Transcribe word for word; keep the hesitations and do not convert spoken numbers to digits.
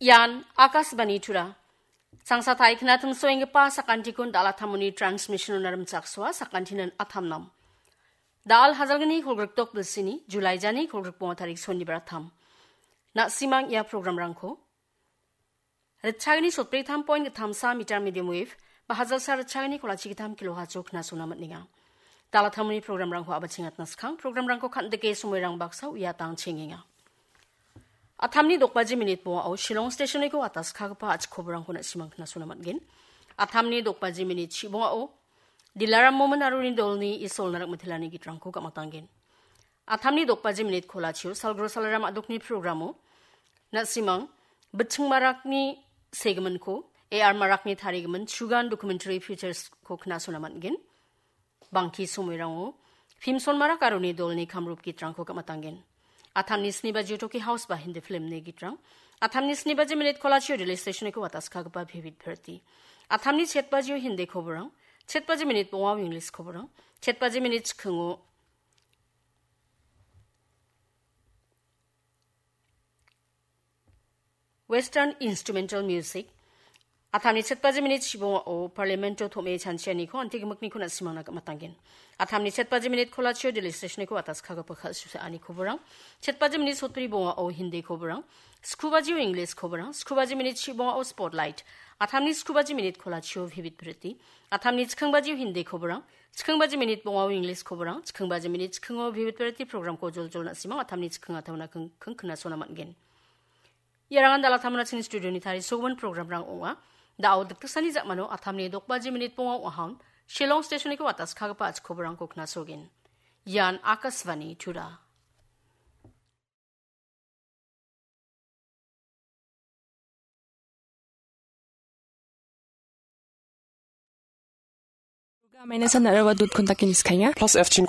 Ian Akashvani Tura. Sangsa taikna timsoenggipa sakantikon dalatamoni transmission-ona rimchaksoa sakantinan atamnam. Dal hajalgni kolgrikdok bilsini, July jani kolgrikbonga tarik sonibar atam. Na·simang ia programrangko. Ritchagni sotbri tam point gittamsa meter medium wave, ba hajalsa ritchagni kolachi gittam kilohertz-o knasona man·enga. Dalatamoni programrangko abachengatna skang, programrangko kan·dike somoirang baksa uiatang chengenga. Atamni dokbaji minit bongao Shillong stationiko ataskagipa a·chik koborangko na·simang knasona man·gen. Atamni dokbaji minit chibongao Dilaram Momin aroni dolni Isolna Rakmitelani gitrangko gamatanggen. Atamni dokbaji minit kolachio Salgro Salaram a·dokni programo na·simang Bitching Marakni segiminko, A R Marakni tarigimin Chugan Documentary Features-ko knasona man·gen. Bangki somoirango Phimson Marak aroni dolni Kamrup gitrangko gamatanggen. Atamni sni bajio Toki House ba Hindi filmni gitrang. Atamni sni baji minit kolachio Delhi stationiko ataskagipa Vivid Bharati. Atamni chet bajio Hindi koborang, chet baji minit bongao English koborang, chet baji minit chikingo Western Instrumental Music. Atamni chet baji minit chibongao Parlamento tom·e chanchianiko antigimikniko na·simangna gamatanggen. Atamni chet baji minit kolachio Delhi stationiko ataskagipa kal·susaani koborang. Chet baji minit sotbri bongao Hindi koborang. Sku bajio English koborang. Sku baji minit chibongao Spotlight. Atamni sku baji minit kolachio Vivid Bharati. Atamni chiking bajio Hindi koborang. Chiking baji minit bongao English koborang. Chiking baji minit chikingo Vivid Bharati programko joljol na·simang atamni chiking atauna king, king knasona man·gen. Iarangan dalatamona chini studioni tarisogimin programrang ong·a. Da·o dikdiksani ja·mano atamni dokbaji minit bonga ong·ahaun Shillong stationiko ataskagipa a·chik koborangko knasogen. Ian Akashvani Tura. Program-e na·ra ba dot com dake niskaenga. Plus F chin